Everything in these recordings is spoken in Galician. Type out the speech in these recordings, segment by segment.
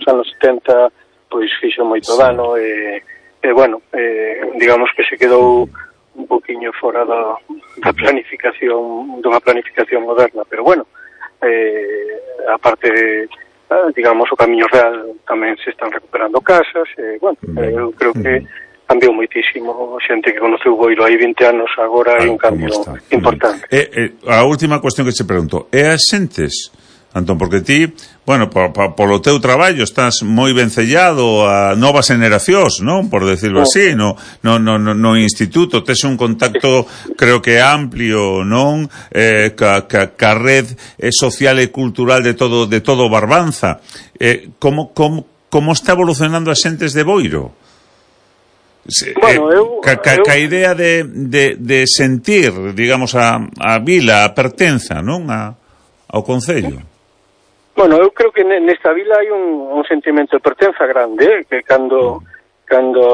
anos 70 pois fixo moito dano e bueno, digamos que se quedou un poquinho fora da planificación, dunha planificación moderna, pero bueno, a parte digamos o Camiño Real tamén se están recuperando casas, bueno, eu creo que cambiou moitísimo, a xente que conoceu Boiro hai 20 anos agora hai un cambio importante. A última cuestión que se pregunto, é as xentes, Antón, porque ti, bueno, polo teu traballo estás moi vencellado a novas generacións, non? Por decirlo así, no instituto tes un contacto, creo que amplio, non? Ca red social e cultural de todo Barbanza. Como está evolucionando as xentes de Boiro? Bueno, ca idea de sentir, digamos, a vila, a pertenza, non? Ao concello. Bueno, eu creo que nesta vila hai un sentimento de pertenza grande, que cando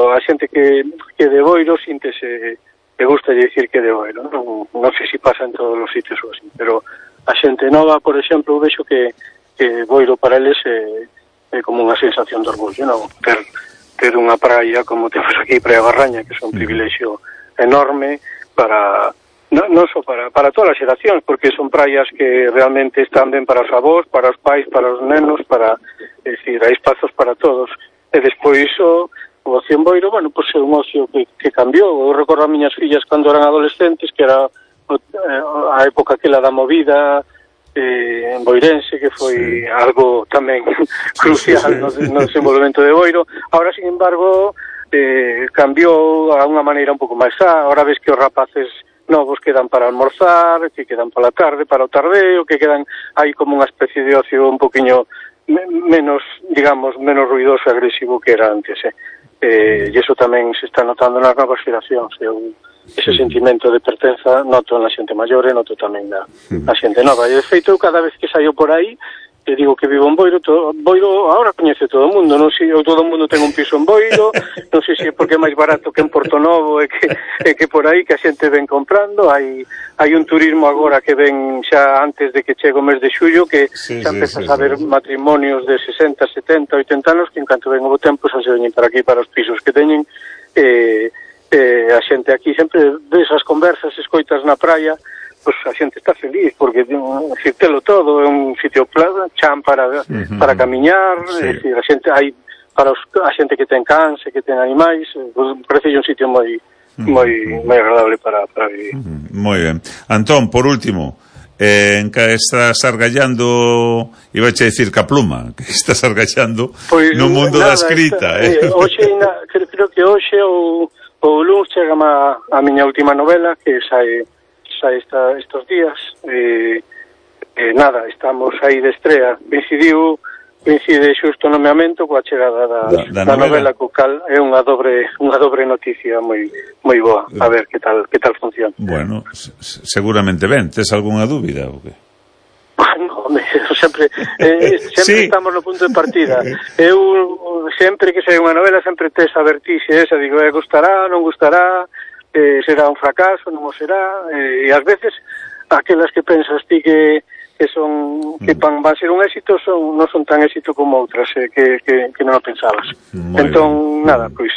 a xente que de Boiro síntese, que gusta de dicir que de Boiro, non sei se pasa en todos os sitios ou así, pero a xente nova, por exemplo, vexo que Boiro para eles é como unha sensación de orgullo, non? Ter unha praia como temos aquí, Praia Barraña, que é un privilexio enorme para... non só para todas as xeracións, porque son praias que realmente están ben para os avós, para os pais, para os nenos, decir, hai espazos para todos. E despois o ocio en Boiro, bueno, pois é un ocio que cambiou. Eu recordo a miñas fillas cando eran adolescentes, que era a época aquela da movida en boirense, que foi algo tamén crucial no desenvolvemento de Boiro. Ahora, sin embargo, cambiou a unha maneira un pouco máis ahora ves que os rapaces novos quedan para almorzar, que quedan para a tarde, para o tardeo, que quedan aí como unha especie de ocio un poquinho menos, digamos, menos ruidoso e agresivo que era antes, e iso tamén se está notando nas novas xeracións, ese sentimento de pertenza noto na xente maior e noto tamén na xente nova, e de feito cada vez que saio por aí e digo que vivo en Boiro, Boiro agora coñece todo o mundo, non sei, todo o mundo ten un piso en Boiro, non sei se é porque é máis barato que en Portonovo e que por aí que a xente ven comprando, hai un turismo agora que ven xa antes de que chegue o mes de xullo, que xa empezas a ver matrimonios de 60, 70, 80 anos que en canto ven o tempo xa se veñen para aquí, para os pisos que teñen, a xente aquí sempre ves as conversas, escoitas na praia, pois a xente está feliz, porque telo todo, é un sitio chan para camiñar, a xente hai para a xente que ten cans e que ten animais, parece un sitio moi agradable para vivir. Moi ben. Antón, por último, en que estás argallando, iba a decir ca pluma, que estás argallando no mundo da escrita. Hoxe, creo que hoxe ou luns chega a miña última novela, que sai estos días, nada, estamos aí de estrea, coincide xusto o nomeamento coa chegada da novela, co cal é unha dobre noticia moi boa, a ver que tal funciona. Bueno, seguramente ben, tes algunha dúbida ou que? No, sempre estamos no punto de partida. Eu sempre que sei unha novela sempre tes a vertixe esa, digo, gustará, non gustará, será un fracaso, non o será, e ás veces aquelas que pensas ti que van a ser un éxito non son tan éxito como outras que non o pensabas. Entón, nada, pois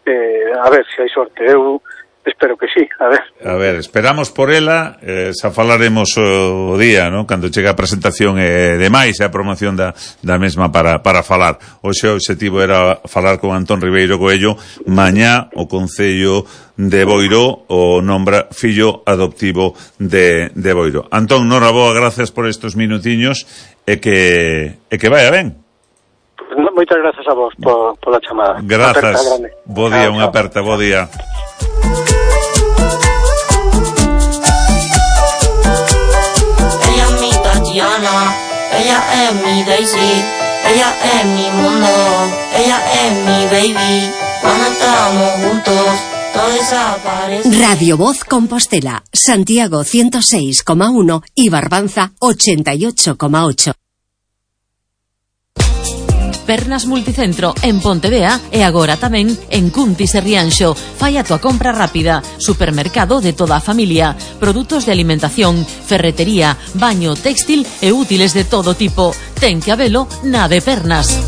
a ver se hai sorte. Eu espero que sí, a ver, esperamos por ela, xa falaremos o día, non? Cando chega a presentación e demais, a promoción da mesma para falar. Hoxe o obxectivo era falar con Antón Ribeiro Coello. Mañá o Concello de Boiro o nombra fillo adoptivo de Boiro. Antón, noraboa, gracias por estos minutiños e que vaya ben. Moitas gracias a vos pola chamada. Grazas, bo día, unha aperta, bo día. Ella es mi Daisy, ella es mi mundo, ella es mi baby. Cuando estamos juntos, todo desaparece. Radio Voz Compostela, Santiago 106,1 y Barbanza 88,8. Pernas Multicentro en Pontevea e agora tamén en Cuntis e Rianxo. Fai a tua compra rápida. Supermercado de toda a familia. Produtos de alimentación, ferretería, baño, textil e útiles de todo tipo. Ten que habelo na de Pernas.